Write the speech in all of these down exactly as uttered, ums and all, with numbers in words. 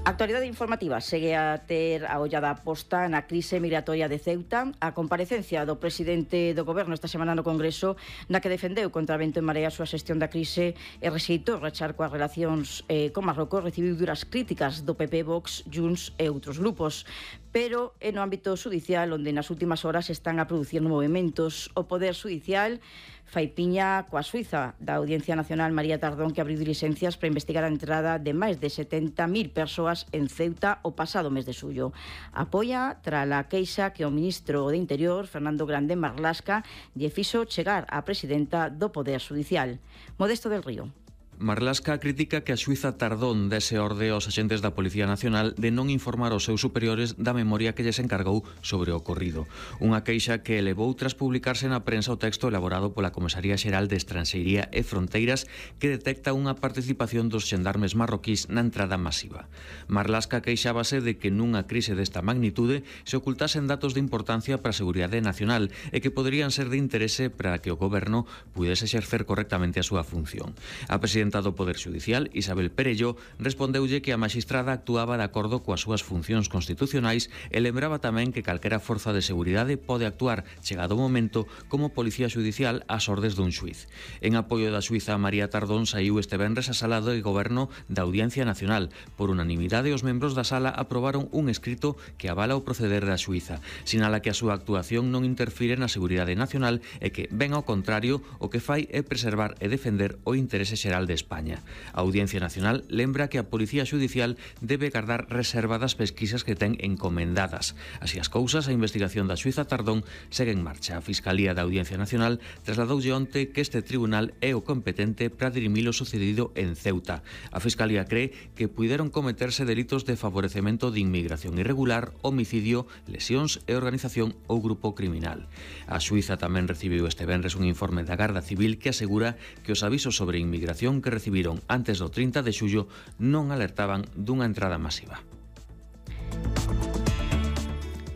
A actualidade informativa segue a ter a ollada posta na crise migratoria de Ceuta. A comparecencia do presidente do Goberno esta semana no Congreso, na que defendeu contra vento e marea a súa xestión da crise e rexeitou rachar coas relacións eh, con Marrocos, recibiu duras críticas do P P, Vox, Junts e outros grupos. Pero é no ámbito judicial onde nas últimas horas están a producir movimentos. O Poder Judicial fai piña coa Suiza da Audiencia Nacional María Tardón, que abriu dilixencias para investigar a entrada de máis de setenta mil persoas en Ceuta o pasado mes de xullo. Apoia tras a queixa que o ministro de Interior, Fernando Grande Marlasca, lle fixo chegar á presidenta do Poder Judicial. Modesto del Río. Marlasca critica que a Suiza Tardón dese orde aos axentes da Policía Nacional de non informar aos seus superiores da memoria que lles encargou sobre o ocorrido. Unha queixa que elevou tras publicarse na prensa o texto elaborado pola Comisaría Xeral de Estranxeiría e Fronteiras que detecta unha participación dos xendarmes marroquís na entrada masiva. Marlasca queixábase de que nunha crise desta magnitude se ocultasen datos de importancia para a seguridade nacional e que poderían ser de interese para que o goberno pudese exercer correctamente a súa función. A presidenta do Poder Judicial, Isabel Perello, respondeulle que a magistrada actuaba de acordo coas súas funcións constitucionais e lembraba tamén que calquera forza de seguridade pode actuar, chegado o momento, como policía judicial ás ordes dun xuiz. En apoio da suiza María Tardón saiu este venres a sala de goberno da Audiencia Nacional. Por unanimidade, os membros da sala aprobaron un escrito que avala o proceder da suiza. Sinala que a súa actuación non interfire na seguridade nacional e que, ben ao contrario, o que fai é preservar e defender o interese xeral de España. A Audiencia Nacional lembra que a Policía Judicial debe guardar reserva das pesquisas que ten encomendadas. Así as cousas, a investigación da Suiza Tardón segue en marcha. A Fiscalía da Audiencia Nacional trasladoulle onte que este tribunal é o competente para dirimir o sucedido en Ceuta. A Fiscalía cree que puideron cometerse delitos de favorecemento de inmigración irregular, homicidio, lesións e organización ou grupo criminal. A Suiza tamén recibiu este venres un informe da Garda Civil que asegura que os avisos sobre inmigración que recibiron antes do trinta de xullo non alertaban dunha entrada masiva.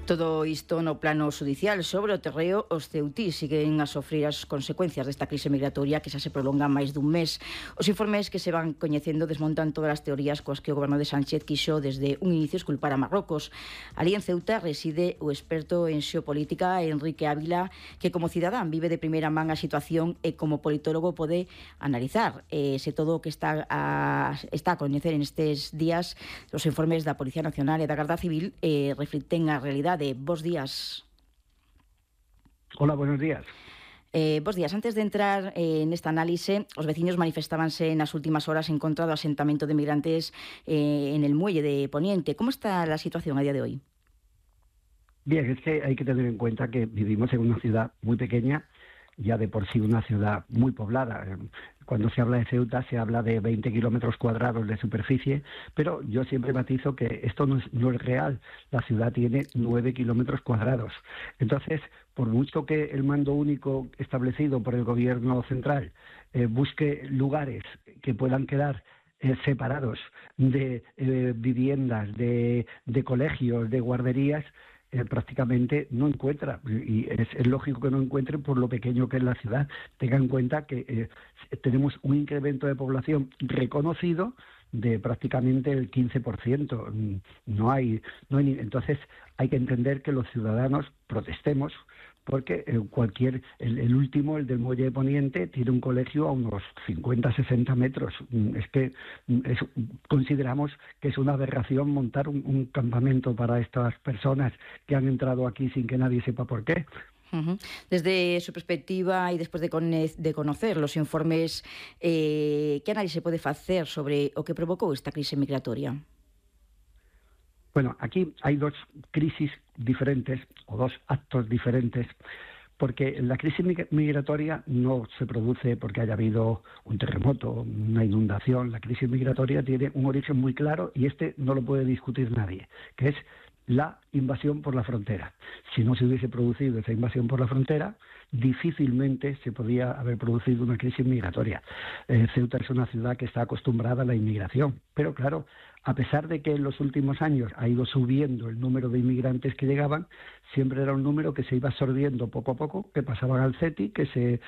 Todo isto no plano judicial. Sobre o terreo, os ceutís siguen a sofrer as consecuencias desta crise migratoria que xa se prolonga máis dun mes. Os informes que se van coñecendo desmontan todas as teorías coas que o goberno de Sánchez quixo desde un inicio esculpar a Marrocos. Ali en Ceuta reside o experto en xeopolítica Enrique Ávila, que como cidadán vive de primeira man a situación e como politólogo pode analizar eh, se todo o que está a, está a coñecer en estes días os informes da Policía Nacional e da Garda Civil eh, reflicten a realidade. De Bos días. Hola, buenos días. Eh, bos días. Antes de entrar eh, nesta análise, os veciños manifestábanse nas últimas horas en contra do asentamento de migrantes eh, en el muelle de Poniente. ¿Cómo está la situación a día de hoy? Bien, es que hay que tener en cuenta que vivimos en una ciudad muy pequeña, ya de por sí una ciudad muy poblada. Cuando se habla de Ceuta se habla de veinte kilómetros cuadrados de superficie, pero yo siempre matizo que esto no es, no es real. La ciudad tiene nueve kilómetros cuadrados. Entonces, por mucho que el mando único establecido por el gobierno central eh, busque lugares que puedan quedar eh, separados de eh, viviendas, de, de colegios, de guarderías, Eh, prácticamente no encuentra, y es, es lógico que no encuentre por lo pequeño que es la ciudad. Tengan en cuenta que eh, tenemos un incremento de población reconocido de prácticamente el quince por ciento. No hay, no hay, entonces hay que entender que los ciudadanos protestemos, porque eh, cualquier, el, el último, el del Muelle de Poniente, tiene un colegio a unos cincuenta, sesenta metros. Es que es, consideramos que es una aberración montar un, un campamento para estas personas que han entrado aquí sin que nadie sepa por qué. Uh-huh. Desde su perspectiva y después de, con- de conocer los informes, eh, ¿qué análisis se puede hacer sobre o que provocó esta crisis migratoria? Bueno, aquí hay dos crisis diferentes o dos actos diferentes, porque la crisis migratoria no se produce porque haya habido un terremoto, una inundación. La crisis migratoria tiene un origen muy claro y este no lo puede discutir nadie, que es la invasión por la frontera. Si no se hubiese producido esa invasión por la frontera, difícilmente se podía haber producido una crisis migratoria. Eh, Ceuta es una ciudad que está acostumbrada a la inmigración, pero claro, a pesar de que en los últimos años ha ido subiendo el número de inmigrantes que llegaban, siempre era un número que se iba absorbiendo poco a poco, que pasaban al CETI, que se